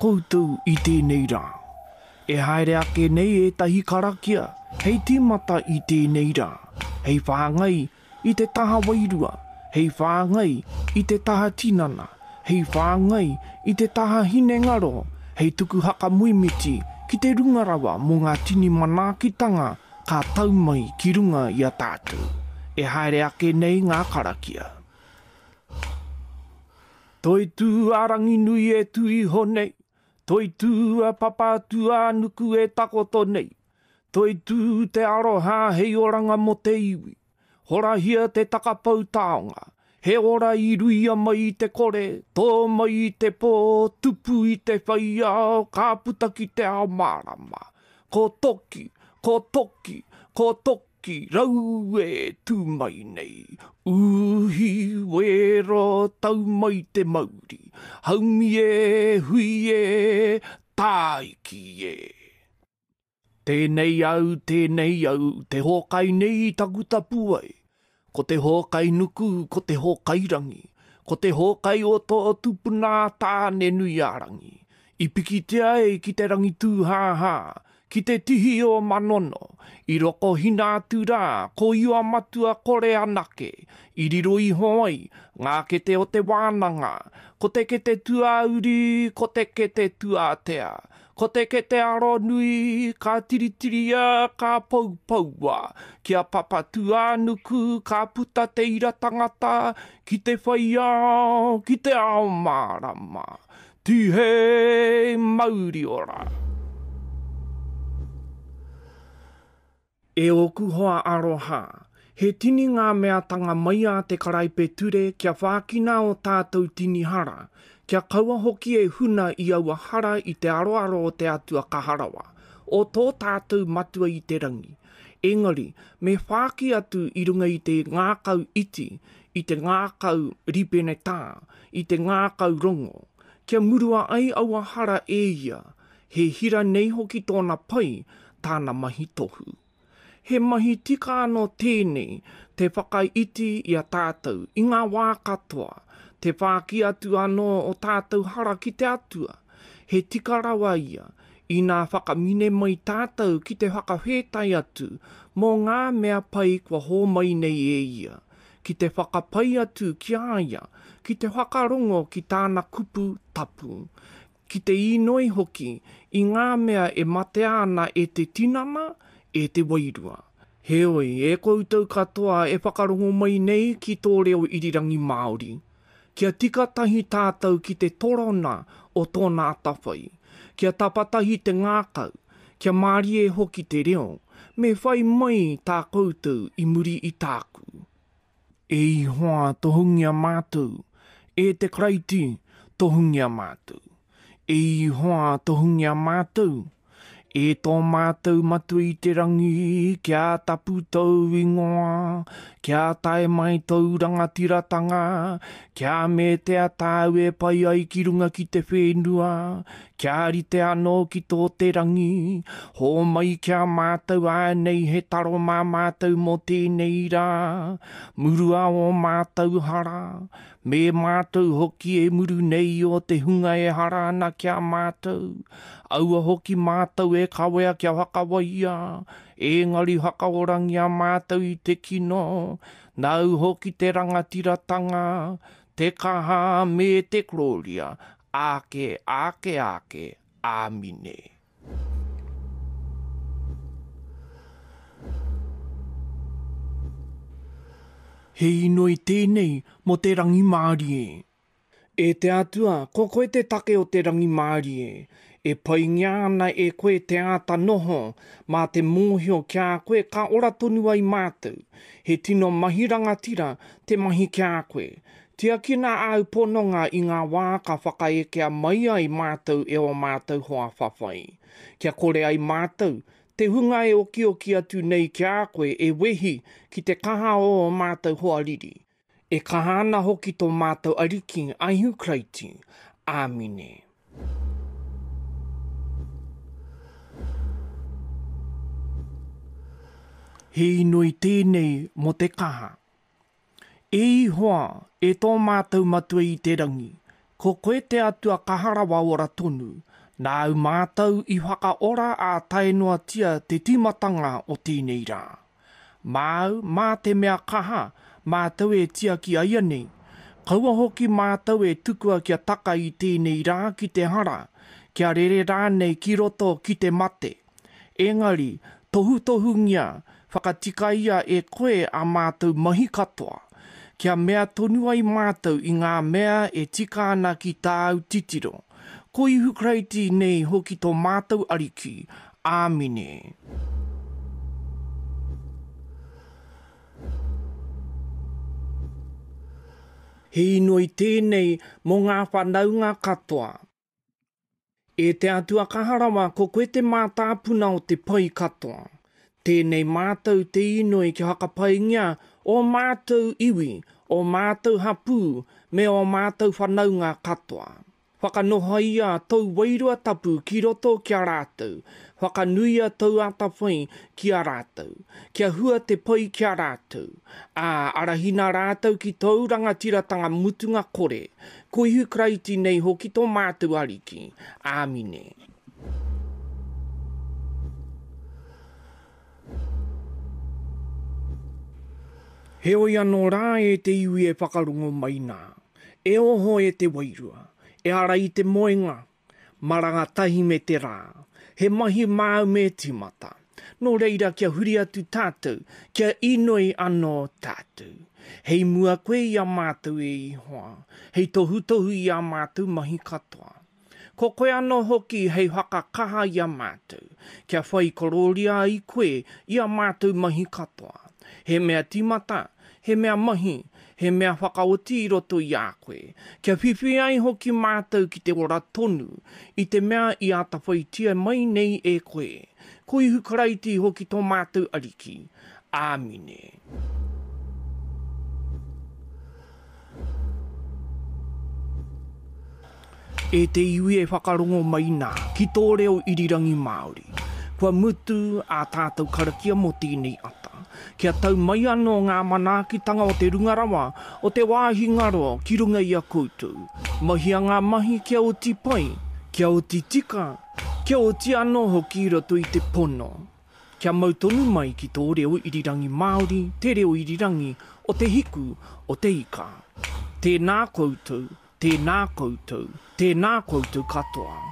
koutou i tēnei rā. E haere ake nei ētahi karakia hei tīmata i tēnei rā, hei whāngai i te taha wairua, hei whāngai i te taha tinana, hei whāngai i te taha hinengaro, hei tuku hakamoemiti ki te runga rawa mō ngā tini manaakitanga ka tau mai ki runga i a tātou. E haere ake nei ngā karakia. Toitū a Ranginui e tū iho nei, Toitū a Papatūānuku e takoto nei, Toitū te aroha hei oranga mō te iwi, Horahia te takapou taonga, he ora i ruia mai i te kore, tō mai i te pō, tupu i te whai ao, ka puta ki te ao mārama. Ko Toki, ko Toki, ko Toki. Ki rau e tū mai nei, Uhi wero tau mai te mauri, Haumi e, hui e, tāiki e. Tēnei au, tēnei au, te hōkai nei i taku tapuwae, Ko te hōkai nuku, ko te hōkai rangi, Ko te hōkai o tō tupuna Tāne-nui-ā-rangi, I pikitia ai ki te rangi tūhāhā, Ki te tihi o Manono, i rokohina atu rā ko Ioamatua kore anake i riro iho ai ngā kete o te wānanga, ko te kete tuauri, ko te kete tuatea, ko te kete aronui, ka tiritiria, ka poupoua, ki a Papatūānuku ka puta te ira tangata ki te whai ao, ki te ao mārama. Tihei mauri ora! E ōku hoa aroha, he tini ngā meatanga mai a te karaipeture kia whākina ō tātou tini hara, kia kaua hoki e huna i aua hara i te aroaro o te Atua Kaha Rawa, o tō tātou Matua i te Rangi. Engari, me whāki atu i runga i te ngākau iti, i te ngākau rīpenetā, i te ngākau rongo, kia murua ai aua hara e ia, he hira nei hoki tōna pai tāna mahi tohu. He mahi tika anō tēnei te whakaiti i a tātou i ngā wā katoa, te whāki atu anō o tātou hara ki te Atua, he tika rawa ia, inā whakamine mai tātou ki te whakawhētai atu mō ngā mea pai kua hōmai nei e ia, ki te whakapai atu ki a ia, ki te whakarongo ki tāna kupu tapu, ki te īnoi hoki i ngā mea e matea ana e te tinana, e te wairua. Heoi, e koutou katoa e whakarongo mai nei ki tō reo irirangi Māori, kia tika tahi tātou ki te torona o tōna atawhai, kia tapatahi te ngākau, kia mārie hoki te reo, me whai mai tā koutou i muri i tāku. E Ihoa, tohungia mātou. E te Karaiti, tohungia mātou. E Ihoa, tohungia mātou. E tō mātou Matua i te rangi, kia tapu tōu ingoa, kia tae mai tōu rangatiratanga, kia metea tāu e pai ai ki runga ki te whenua, Kia rite anō ki tō te rangi, hōmai ki a mātou ānei he taro mā mātou mō tēnei rā, murua ō mātou hara, me mātou hoki e muru nei o te hunga e hara ana ki a mātou, aua hoki mātou e kawea kia whakawaia, ēngari whakaorangia mātou i te kino, nāu hoki te rangatiratanga, te kaha me te korōria, Āke, āke, āke, āmine. He inoi tēnei mō te rangimārie. E te Atua, ko koe te take o te rangimārie. E paingia ana e koe te āta noho, mā te mōhio ki a koe ka ora tonu ai mātou. He tino mahi rangatira te mahi ki a koe. Tiakina āu pononga i ngā wā ka whakaekea mai ai mātou e ō mātou hoa whawhai, kia kore ai mātou, te hunga e okioki atu nei ki a koe e wehi ki te kaha o ō mātou hoariri. E kaha ana hoki tō mātou Ariki a Ihu Karaiti. Āmine. He inoi tēnei mō te kaha. E Ihoa, e tō mātou Matua i te rangi, Ko koe te Atua kaha rawa ora tonu, nāu mātou i whakaora ā tae noatia te tīmatanga o tēnei rā. Māu, mā te mea kaha, mātou e tiaki aianei. Kaua hoki mātou e tukua kia taka i tēnei rā ki te hara, kia rere rānei ki roto ki te mate. Engari, tohutohungia, whakatikaia e koe ā mātou mahi katoa, kia mea tonu ai mātou i ngā mea e tika ana ki tāu titiro. Ko Ihu Karaiti nei hoki tō mātou Ariki. Āmine. He inoi tēnei mō ngā whanaunga katoa. E te Atua kaha rawa, ko koe te mātāpuna o te pai katoa. Tēnei mātou te inoi kia whakapaingia ō mātou iwi, ō mātou hapū, me ō mātou whanaunga katoa. Whakanohoia tōu Wairua Tapu ki roto ki a rātou, whakanuia tōu atawhai ki a rātou, kia hua te pai ki a rātou, ā, arahina rātou ki tōu rangatiratanga mutunga kore, Ko Ihu Karaiti nei hoki tō mātou Ariki. Āmine. Heoi anō rā e te iwi e whakarongo mai nā, e oho e te wairua, e ara i te moenga, maranga tahi me te rā, he mahi māu me tīmata. Nō reira kia huri atu tātou, kia inoi anō tātou. Hei mua koe i a mātou e Ihoa, hei tohutohu i ā mātou mahi katoa. Ko koe anō hoki hei whakakaha i a mātou, kia whai korōria ai koe i ā mātou mahi katoa. He mea tīmata, he mea mahi, he mea whakaoti i roto i a koe, kia whiwhi ai hoki mātou ki te ora tonu, i te mea i atawhaitia mai nei e koe. Ko Ihu Karaiti hoki tō mātou Ariki. Āmine. E te iwi e whakarongo mai nā ki tō reo irirangi Māori. Kua mutu ā tātou karakia mō tēnei ata. Kia tau mai anō ngā manaakitanga o te runga rawa, o te wāhi ngaro ki runga i a koutou. Mahia ngā mahi kia oti pai, kia oti tika, kia oti anō hoki i roto i te pono. Kia mau tonu mai ki tō reo irirangi Māori, te reo irirangi o te hiku o te ika. Tēnā koutou, tēnā koutou, tēnā koutou katoa.